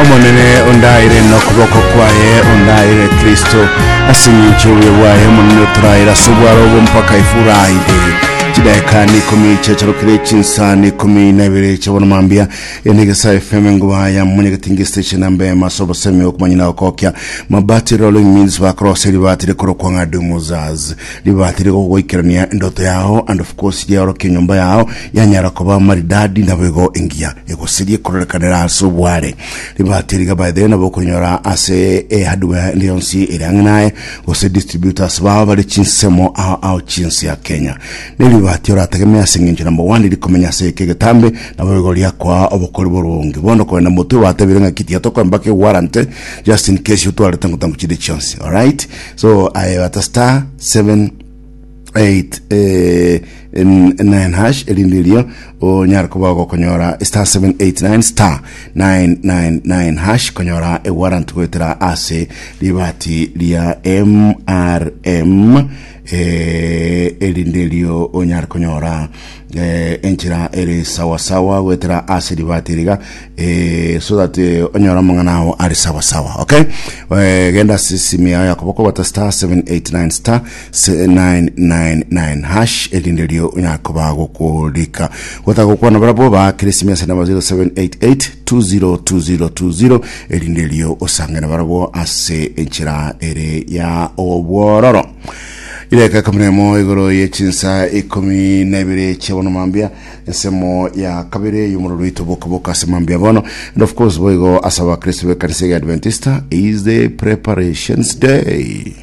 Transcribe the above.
Omonene ondaire nokoboko kwaye, ondaire Kristo ase eng'encho y'obuya bwaye. Omonene otoraire ase obwaro obo mpaka Efuraide. Chidaeka nikomi chiacharokire chinsa nikomi na ibere chia bono mambia enegesa FM enguba ya Mwanyagetinge station namba emo ase obosemi okomanya na gokokia mabati rolling mills bakorosia ribati rikorokwa ng'a Dumuzaz ribati rigogoikerania endoto yao and of course riaorokia enyomba yao yanyara koba maridadi naboigo engiya egosirie kororekanera ase obware. Ribati riga by the way nabo okonyora ase ehardware ende yonsi ere ang'e naye gose distributors bao bare chinsemo ao ao chinse ya Kenya. Ne ribati orategemee ase eng'encho number one rikomenya ase eke egetambe nabo igo riakoa obokori boronge. Bono kogenda motwe batebire ng'aki tiga tokoe mpaka ewarranty just in case otwarete ngotango chinde chionsi. Alright? So aye bata star 7 8 eh, 9 hash erinde erio onyare koba gokonyora star 789 star 999 hash konyora ewarrant goetera ase ribati ria MRM eh, erinde erio onyare konyora eh, enchera ere sawasawa goetera ase ribati riga eh, so that eh, onyore amang'ana ao are sawasawa okay eh, genda ase esimi yao ya koboko bata star 789 star 999 hash erinde erio onyare koba gokorika gotaka gokwana barabwo baakere esimi ase namba 0788 202020 erinde erio osange na barabwo ase enchera ere ya obwororo Idakika ikomi na emo igoro ye chinsa ikomi na ibere chia bono mambia ensemo ya kabere y'omorero oito bokaboka ase mambia bono and of course boigo ase abakristo b'ekanisa ya Adventista is the preparations day.